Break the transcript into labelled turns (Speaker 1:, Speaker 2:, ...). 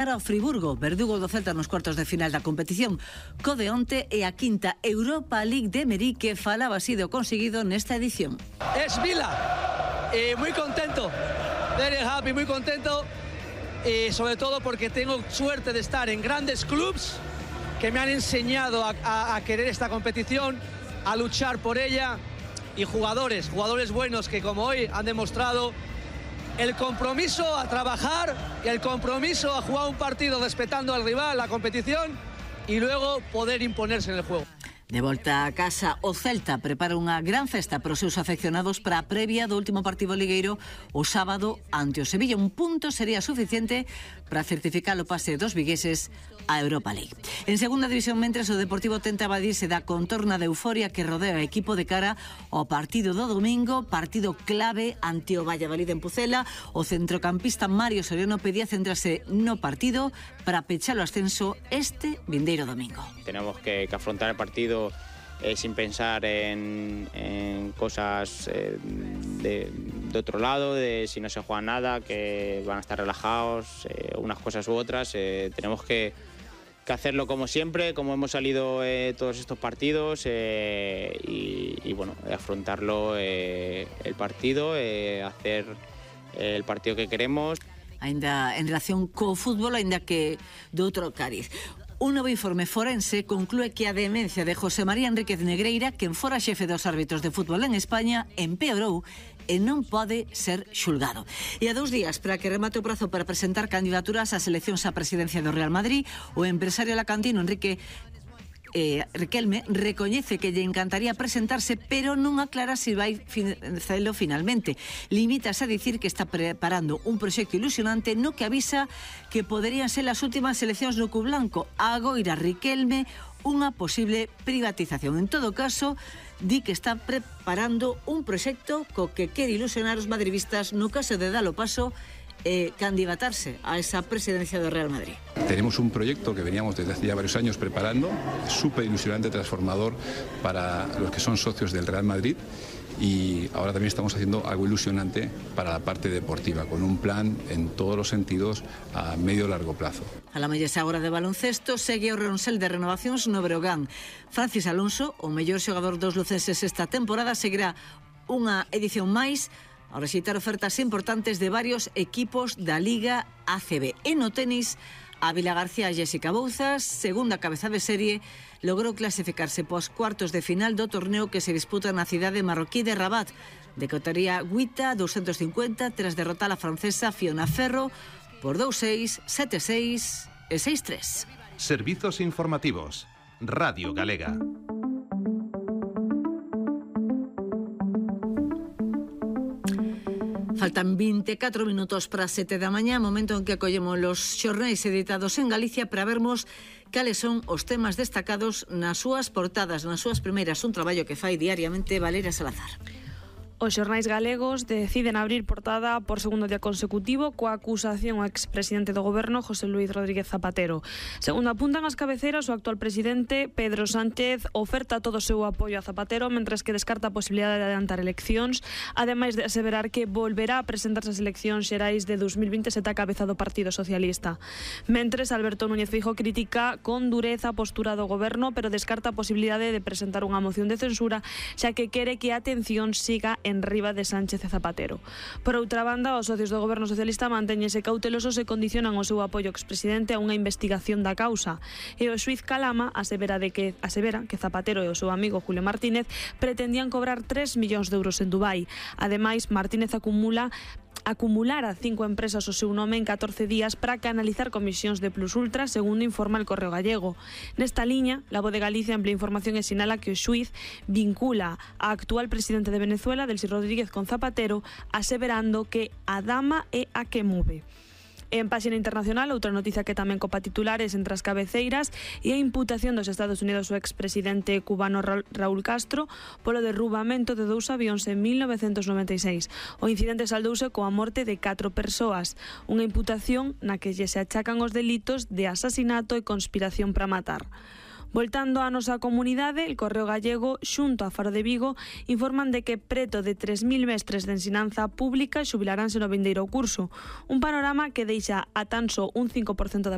Speaker 1: Para o Friburgo, verdugo do Celta nos cuartos de final da competición, co de onte e a quinta Europa League de Emery, que falaba así do conseguido nesta edición.
Speaker 2: Es Vila, muy contento, very happy, muy contento, sobre todo porque tengo suerte de estar en grandes clubs que me han enseñado a querer esta competición, a luchar por ella, y jugadores buenos que como hoy han demostrado el compromiso a trabajar y el compromiso a jugar un partido respetando al rival, la competición, y luego poder imponerse en el juego.
Speaker 1: De volta a casa, o Celta prepara unha gran festa para os seus afeccionados para a previa do último partido ligueiro o sábado ante o Sevilla. Un punto sería suficiente para certificar o pase dos vigueses a Europa League. En segunda división, mentres o Deportivo tenta evadirse da contorna de euforia que rodea o equipo de cara ao partido do domingo, partido clave ante o Valladolid en Pucela. O centrocampista Mario Soriano pedía centrarse no partido para pechar o ascenso este vindeiro domingo.
Speaker 3: Tenemos que afrontar el partido sin pensar en cosas de otro lado, de si no se juega nada, que van a estar relajados, unas cosas u otras. Tenemos que hacerlo como siempre, como hemos salido todos estos partidos, y bueno, afrontarlo el partido, hacer el partido que queremos.
Speaker 1: Ainda en relación co fútbol, ainda que de outro cariz. Un novo informe forense conclúe que a demencia de José María Enríquez Negreira, quen fora xefe dos árbitros de fútbol en España, empeorou e non pode ser xulgado. E a 2 días para que remate o prazo para presentar candidaturas ás eleccións á presidencia do Real Madrid, o empresario alacantino Enrique Riquelme recoñece que lle encantaría presentarse, pero non aclara se vai facelo finalmente. Limítase a dicir que está preparando un proxecto ilusionante no que avisa que poderían ser as últimas eleccións no Club Blanco. Agoira Riquelme unha posible privatización. En todo caso, di que está preparando un proxecto co que quere ilusionar os madridistas no caso de dar o paso candidatarse a esa presidencia del Real Madrid.
Speaker 4: Tenemos un proyecto que veníamos desde hace ya varios años preparando, súper ilusionante, transformador para los que son socios del Real Madrid, y ahora también estamos haciendo algo ilusionante para la parte deportiva, con un plan en todos los sentidos a medio y largo plazo.
Speaker 1: A la mallesa agora de baloncesto segue o Ronsel de renovacións no Breogán. Francis Alonso, o mellor xogador dos lucenses esta temporada, seguirá unha edición máis ao rexeitar ofertas importantes de varios equipos da Liga ACB. E no tenis, a Vila García Jessica Bouzas, segunda cabeza de serie, logrou clasificarse pos cuartos de final do torneo que se disputa na cidade marroquí de Rabat. Decotaría Guita 250 tras derrotar a francesa Fiona Ferro por 2-6, 7-6 e 6-3.
Speaker 5: Servizos informativos. Radio Galega.
Speaker 1: Faltan 24 minutos para 7 da mañá, momento en que acollemos los xornais editados en Galicia para vermos cales son os temas destacados nas súas portadas, nas súas primeiras, un traballo que fai diariamente Valeria Salazar.
Speaker 6: Os xornais galegos deciden abrir portada por segundo día consecutivo coa acusación ao expresidente do goberno José Luís Rodríguez Zapatero. Segundo apuntan as cabeceras, o actual presidente Pedro Sánchez oferta todo o seu apoio a Zapatero, mentres que descarta a posibilidade de adiantar eleccións, ademais de aseverar que volverá a presentarse as eleccións xerais de 2027 a cabeza do Partido Socialista. Mentres, Alberto Núñez Feijóo critica con dureza a postura do goberno, pero descarta a posibilidade de presentar unha moción de censura, xa que quere que a atención siga en riba de Sánchez e Zapatero. Por outra banda, os socios do goberno socialista mantéñense cautelosos e condicionan o seu apoio ao expresidente a unha investigación da causa. E o xuiz Calama asevera que Zapatero e o seu amigo Julio Martínez pretendían cobrar 3 millóns de euros en Dubai. Ademais, Martínez acumulara 5 empresas o seu nome en 14 días para canalizar comisións de Plus Ultra, segundo informa el Correo Gallego. Nesta liña, La Voz de Galicia amplia información e sinala que o xuiz vincula a actual presidente de Venezuela, Delcy Rodríguez, con Zapatero, aseverando que a dama é a que move. En páxina internacional, outra noticia que tamén copa titulares entre as cabeceiras e a imputación dos Estados Unidos ao expresidente cubano Raúl Castro polo derrubamento de 2 avións en 1996. O incidente saldouse coa morte de 4 persoas, unha imputación na que lle se achacan os delitos de asasinato e conspiración para matar. Voltando á nosa comunidade, el Correo Gallego xunto a Faro de Vigo informan de que preto de 3.000 mestres de ensinanza pública xubilaranse no vindeiro curso, un panorama que deixa a tan só un 5% da